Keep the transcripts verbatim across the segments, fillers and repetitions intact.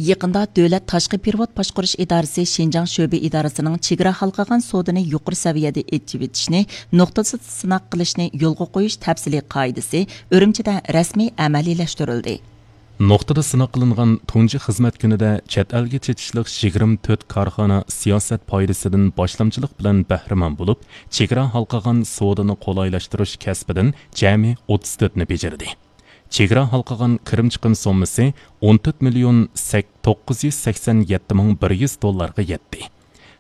يېقىندا دۆلەت تاشقى پېرېۋوت باشقۇرۇش ئىدارىسى شىنجاڭ شۆبە ئىدارىسىنىڭ چېگرا ھالقىغان سودىنى يۇقىرى سەۋىيەدە ئېچىۋېتىشنى نۇقتىسىدا سىناق قىلىشنى يولغا قويۇش تەپسىلىي قائىدىسى ئۈرۈمچىدە رەسمىي ئەمەلىيلەشتۈرۈلدى. نۇقتىدا سىناق قىلىنغان تۇنجى خىزمەت كۈنىدە چەت ئەلگە چېتىشلىق يىگىرمە تۆت كارخانا سىياسەت پايدىسىدىن باشلامچىلىق بىلەن بەھرىمەن بولۇپ، چېگرا ھالقىغان سودىنى قولايلاشتۇرۇش كەسپىدىن جەمئىي ئوتتۇز تۆتنى بېجىردى. چېگرا ھالقىغان كىرىم چىقىم سوممىسى ئون تۆت مىليون توققۇز يۈز سەكسەن يەتتە مىڭ بىر يۈز دوللارغا يەتتى.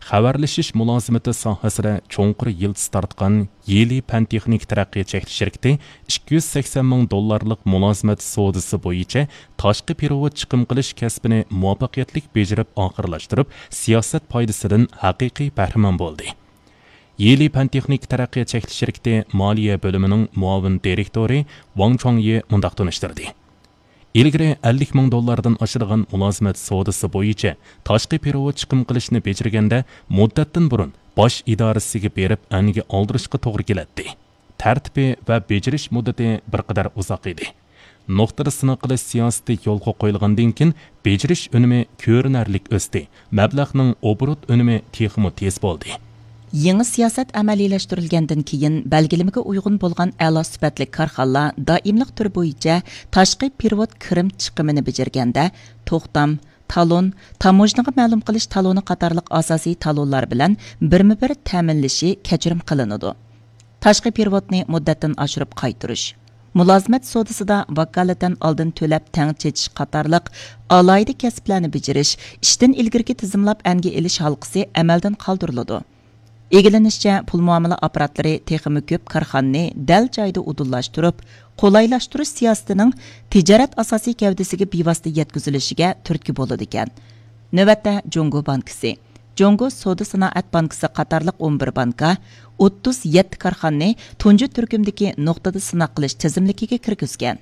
خەۋەرلىشىش مۇلازىمىتى ساھەسىدە چوڭقۇر يىلتىز تارتقان يىلى پەن تېخنىكا تەرەققىيات چەكلىك شىركىتى ئىككى يۈز سەكسەن مىڭ دوللارلىق مۇلازىمەت سودىسى بويىچە تاشقى پېرېۋوت چىقىم قىلىش كەسپىنى مۇۋەپپەقىيەتلىك بېجىرىپ ئاخىرلاشتۇرۇپ، سىياسەت پايدىسىدىن ھەقىقىي بەھرىمەن بولدى. يىلى پەن تېخنىكا تەرەققىيات چەكلىك شىركىتى مالىيە بۆلۈمىنىڭ مۇئاۋىن دىرېكتورى ۋاڭ چۇاڭيى مۇنداق تونۇشتۇردى. ئىلگىرى ئەللىك مىڭ دوللاردىن ئاشىدىغان مۇلازىمەت سودىسى بويىچە تاشقى پېرېۋوت چىقىم قىلىشنى بېجىرگەندە، مۇددەتتىن بۇرۇن باش ئىدارىسىگە بېرىپ ئەنگە ئالدۇرۇشقا توغرا كېلەتتى. تەرتىپى ۋە بېجىرىش مۇددىتى بىر قەدەر ئۇزاق ئىدى. نۇقتىدا سىناق قىلىش سىياسىتى يولغا قويۇلغاندىن كېيىن، بېجىرىش ئۈنۈمى كۆرۈنەرلىك ئۆستى، مەبلەغنىڭ ئوبوروت ئۈنۈمى تېخىمۇ تېز بولدى. يېڭى سىياسەت ئەمەلىيلەشتۈرۈلگەندىن كېيىن، بەلگىلىمىگە ئۇيغۇن بولغان ئەلا سۈپەتلىك كارخانىلار دائىملىق تۈرى بويىچە تاشقى پېرېۋوت كىرىم چىقىمىنى بېجىرگەندە، توختام، تالون، تاموژنىغا مەلۇم قىلىش تالونى قاتارلىق ئاساسىي تالونلار بىلەن بىرمۇ بىر تەمىنلىشى كەچۈرۈم قىلىنىدۇ. تاشقى پېرېۋوتنى مۇددەتتىن ئاشۇرۇپ قايتۇرۇش، مۇلازىمەت سودىسىدا ۋاكالىتەن ئالدىن تۆلەپ تەڭ چېچىش قاتارلىق ئالاھىدە كەسىپلەرنى بېجىرىش، ئىشتىن ئىلگىرىكى تىزىملاپ ئەنگە ئېلىش ھالقىسى ئەمەلدىن قالدۇرۇلىدۇ. ئىگىلىنىشىچە، پۇل مۇئامىلە ئاپپاراتلىرى تېخىمۇ كۆپ كارخانىنى دەل جايىدا ئۇدۇللاشتۇرۇپ، قولايلاشتۇرۇش سىياسىتىنىڭ تىجارەت ئاساسىي گەۋدىسىگە بىۋاسىتە يەتكۈزۈلۈشىگە تۈرتكە بولىدىكەن. نۆۋەتتە، جۇڭگو بانكىسى، جۇڭگو سودا سانائەت بانكىسى قاتارلىق ئون بىر بانكا، ئوتتۇز يەتتە كارخانىنى تۇنجى تۈركۈمدىكى نۇقتىدا سىناق قىلىش تىزىملىكىگە كىرگۈزگەن.